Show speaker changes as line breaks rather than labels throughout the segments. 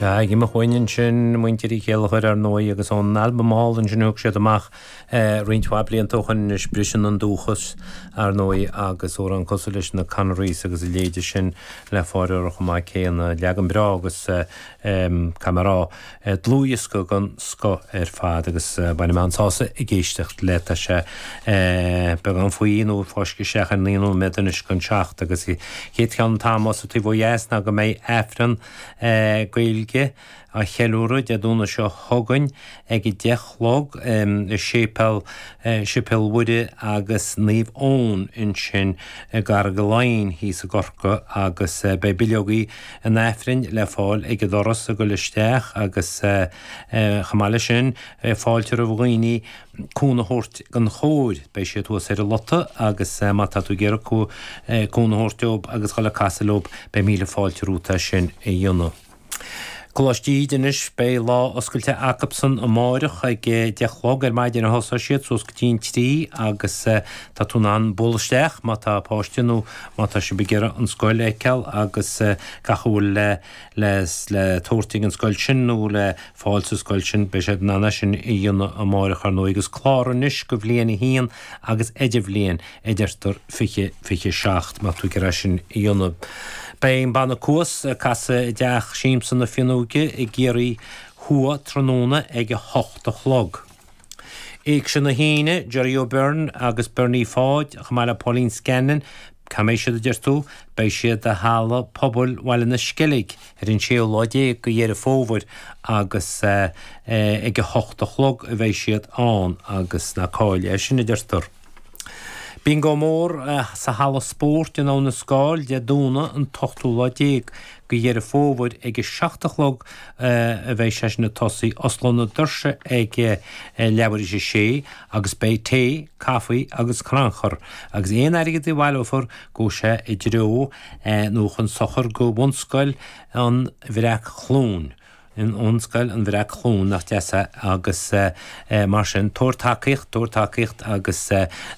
Ag imeacht uainn ansin, muintir Uí Chéilleachair ar ndóigh, agus ón albam álainn sin a thug siad amach roinnt mhaith blianta ó shoin anois, Briseann an Dúchas, ar ndóigh, agus amhrán cosúil leis na Connerys agus a leithéide sin le fáil orthu chomh maith céanna. Leagan breá agus, caithfidh mé a rá, dlúthdhiosca den scoth ar fad agus bainim an-sásamh ag éisteacht le. Tá sé beagán faoi nó fáiscthe isteach ar 9 nóiméad anois don seacht agus chéad cheann an t-am sa taobh ó dheas ná go mbeidh Aifreann Gaeilge á cheiliúradh Dé Domhnaigh seo chugainn ag 10 a chlog i Séipéal Séipéal Mhuire agus Naomh Eoin ansin i gCarraig Laighin thíos i gCorcaigh agus beidh bileogaí an Aifrinn le fáil ag an doras ag dul isteach agus chomh maith leis sin fáilte roimh dhaoine cúnamh a thabhairt don chór. Beidh siad thuas ar an lota agus má tá tú ag iarraidh cúnamh a thabhairt dóibh agus dhul ag casadh leo, beidh míle fáilte romhat é sin a dhéanamh. Coláiste Íde anois, beidh lá oscailte acubsan amáireach ag 10 a chlog ar maidin a thosóidh siad suas go dtí an 3 agus tá tú in ann bualadh isteach má tá páiste nó má tá sibh ag iarraidh an scoil a fheiceáil agus gach a bhfuil le le tabhairt ag an scoil sin nó le fáil sa scoil sin, beidh siad in ann é sin a dhéanamh amáireach ar ndóigh agus clárú anois go bhliain 1 agus idirbhliain a deirtear 20, 27 má tá tú ag iarraidh é sin a dhéanamh. Beidh an banna Cuas ag casadh i dTeach Siamsa na Fionnóige i gCiarraí Thuaidh tráthnóna ag 8 a chlog. Éigse na hAoine, Gerry O'Beirne agus Bernie Pháid, chomh maith le Pauline Scanlon, cá mbeidh siad a deir tú? Beidh siad i Halla Pobail Bhaile na Sceilg ar an séú lá déag de Dheireadh Fómhair agus ag a hocht a chlog a bheidh siad ann agus ná caill é sin a deirtear. Bingo mór sa Halla Spóirt in Abhainn an Scáil Dé Domhnaigh an t-ochtú lá déag de Dheireadh Fómhair ag a 7 a chlog a bheidh sé sin ag tosaí. Osclóidh na doirse ag leathuair théis a sé agus beidh tae, caife agus crannchur agus aon airgead a bhaileofar gabhfaidh sé i dtreo nó chun sochair go Bhunscoil an Bhreac-Chluain. Bhunscoil an Bhreac-Chluain, nach deas é, agus mar sin, tabhair tacaíocht, tabhair tacaíocht agus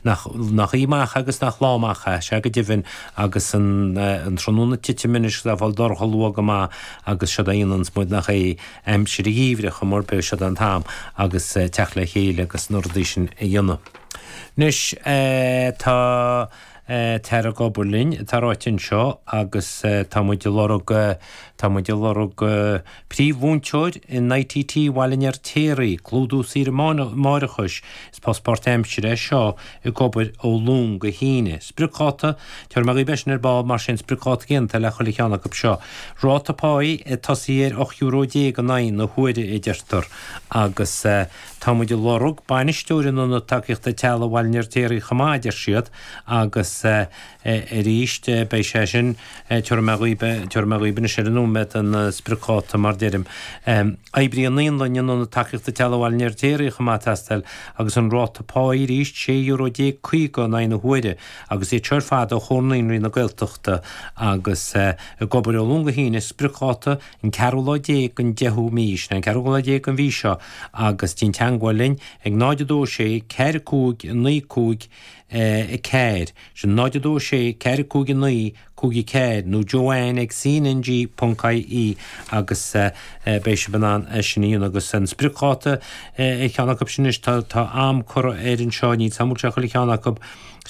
nach, nach oíche amach agus nach lá amach é, sea go deimhin, agus an, an tráthnóna ag titim anois agus é ag fáil dorcha luath go maith agus siod é a dhéananns muid nach é, aimsir an gheimhridh chuma ar bith, siod é an t-am agus teacht le chéile agus na rudaí sin a dhéanamh. Anois, tá. Táthar ag obair linn, atá ráite anseo, agus tá muid ag lorg, tá muid ag lorg príomh-mhúinteoir in ITT Bhaile an Fheirtéaraigh, clúdú saoire máithreachais, is post páirtaimsire é seo, ag obair ó Luan go hAoine. Spriocdháta, tabharfaidh mé dhaoibh é sin ar ball, mar sin spriocdháta céanna atá le chuile cheann acu seo. Ráta páí ag tosaí ar €18 euro in aghaidh na huaire a deirtear, agus. Tá muid ag lorg bainisteoir in Ionad Tacaíochta Teaghlaigh Bhaile an Fheirtéaraigh chomh maith, a deir siad, agus arís beidh sé sin, tabharfaidh mé dhaoibh, tabharfaidh mé dhaoibh anois ar an nóiméad an spriocdháta mar deirim. Oibrí naíolainne in Ionad Tacaíochta Teaghlaigh Bhaile an Fheirtéaraigh chomh maith ag teastáil agus an ráta páí arís, €16 euro in aghaidh na huaire agus iad seo ar fad ó Chomhar Naíonraí na Gaeltachta agus ag obair ó Luan go hAoine, spriocdháta an ceathrú lá déag den deichiú mí, sin é an ceathrú lá déag den mhí seo, agus déan teangmháil linn ag 0 2 6 4 5 9 5 4, sin 0 2 6 4 5 9 5 4, nó Joanne ag cnng ponc ie agus beidh sibh in ann é sin a dhéanamh. Agus an spriocdháta ar cheann acu sin anois, tá am curtha air anseo, níl 's agam an bhfuil sé chuile cheann acu.